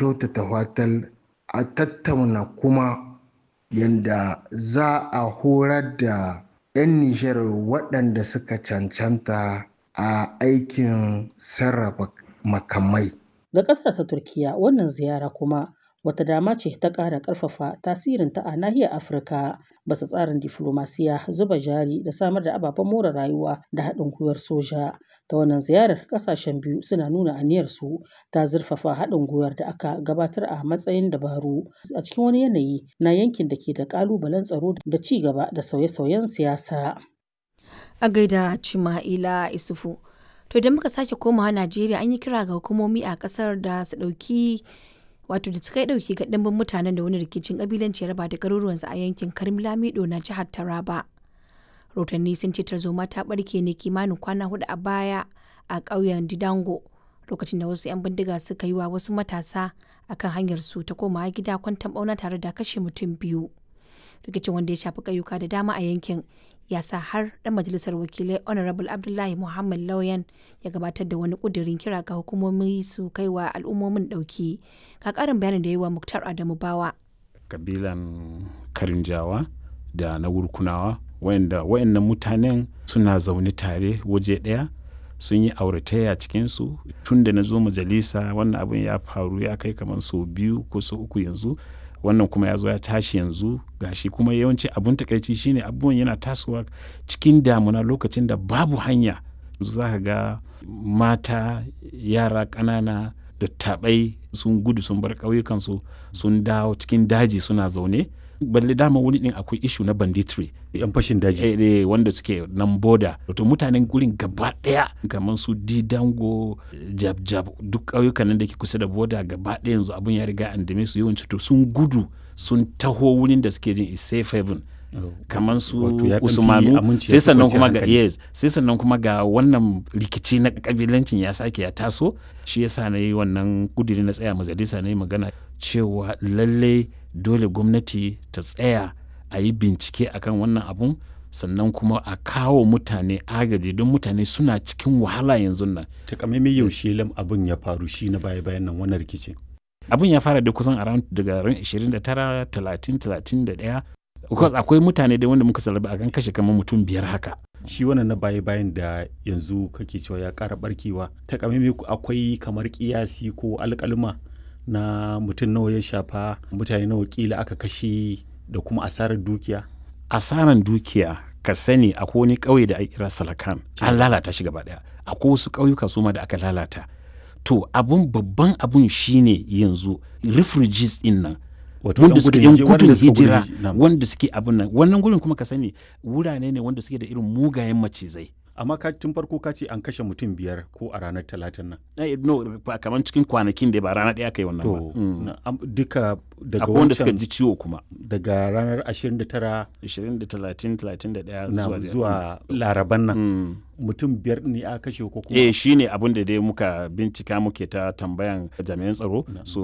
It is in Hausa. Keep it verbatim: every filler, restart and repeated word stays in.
Kyautata fatan a tattauna kuma yadda za a horar da 'yan Nijar waɗanda suka cancanta a aikin sarrafa makamai. Ga ƙasar ta Turkiyya, wannan ziyara kuma wata dama ce ta ƙara ƙarfafa tasirinta a nahiyar Afirka bisa tsarin diflomasiyya, zuba jari da samar da ababen more rayuwa da haɗin gwiwar soja. Ta wannan ziyarar, ƙasashen biyu suna nuna aniyarsu ta zurfafa haɗin gwiwar da aka gabatar a matsayin dabaru a cikin wani yanayi na yankin da ke da ƙalubalen tsaro da ci gaba da sauye-sauyen siyasa. A gaida Chima'ila Isufu. To idan muka sake komawa Najeriya an yi kira ga hukumomi a kasar da su ɗauki wato da suka yi ɗauki ga ɗimbin mutanen da wani rikicin ƙabilanci ya raba da garuruwansu a yankin Karim Lamido na jihar Taraba. Rotanni sun ce tarzoma ta ɓarke ne kimanin kwana hudu a baya a ƙauyen Didango lokacin da wasu 'yan bindiga suka yi wa wasu matasa akan hanyar su ta komawa gida kwantan ɓauna tare da kashe mutum biyu. Rikicin wanda ya shafi ƙauyuka da dama a yankin ya sa har ɗan majalisar wakilai Honorable Abdullahi Muhammad Lauyan ya gabatar da wani ƙudurin kira ga hukumomi su kai wa al'ummomin ɗauki. Ga ƙarin bayanin da ya yi wa Muktar Adamu Bawa. Kabilan Karinjawa da na Wurkunawa wayanda wayannan mutanen suna zaune tare waje ɗaya sun yi auratayya cikinsu tun da na zo majalisa wannan abin ya faru ya kai kamar sau biyu ko sau uku yanzu wannan kuma ya zo ya tashi yanzu gashi kuma yawanci abun takaici shine abubuwan yana tasowa cikin damuna lokacin da babu hanya yanzu za ka ga mata yara ƙanana da taɓai sun gudu sun bar ƙauyukansu sun dawo cikin daji suna zaune balle dama wani din akwai ishu na banditry yan fashin daji eh, eh, wanda suke nan boda to mutanen gurin gaba daya kamar su didango jab jab duk ƙauyukan nan da ke kusa da boda gaba daya yanzu abun ya riga an dame su yawanci to sun gudu sun taho wurin da suke jin is safe haven kamar su usmanu sai sannan kuma ga yes sai sannan kuma ga wannan rikici na kabilancin ya sake ya taso shi yasa na yi wannan kudiri na tsaya majalisa na yi magana cewa lalle dole gwamnati ta tsaya a yi bincike akan wannan abun sannan kuma a kawo mutane agaji don mutane suna cikin wahala yanzu nan. Takamaimai yaushe lam abin ya faru shi na baya-bayan nan wannan rikicin. Abin ya fara da kusan around daga ran ashirin da tara, talatin, talatin da ɗaya. Because akwai mutane da wanda muka salaba akan kashe kamar mutum biyar haka. Shi wannan na baya-bayan da yanzu kake cewa ya ƙara barkewa. Takamaimai akwai kamar kiyasi ko alƙaluma na mutum nawa ya shafa, mutane nawa kila aka kashe da kuma asarar dukiya? Asarar dukiya, ka sani akwai wani ƙauye da ake kira Salakan, an lalata shi gaba ɗaya. Akwai wasu ƙauyuka su ma da aka lalata. To abun babban abun shine yanzu refugees din nan wanda suke yan gudun hijira wanda suke abun nan wannan gurin kuma ka sani wurare ne wanda suke da irin mugayen macizai. Amma ka tun farko ka ce an kashe mutum biyar ko a ranar Talatin nan? Eh, no, kamar cikin kwanakin da ba rana ɗaya kai wannan ba. To duka daga akwai wanda suka ji ciwo kuma daga ranar ashirin da tara, ashirin da talatin, talatin da ɗaya. zuwa zuwa Laraban nan mutum biyar ne aka kashe ko kuma? Eh, shine abin da dai muka bincika muke ta tambayan jami'an tsaro so.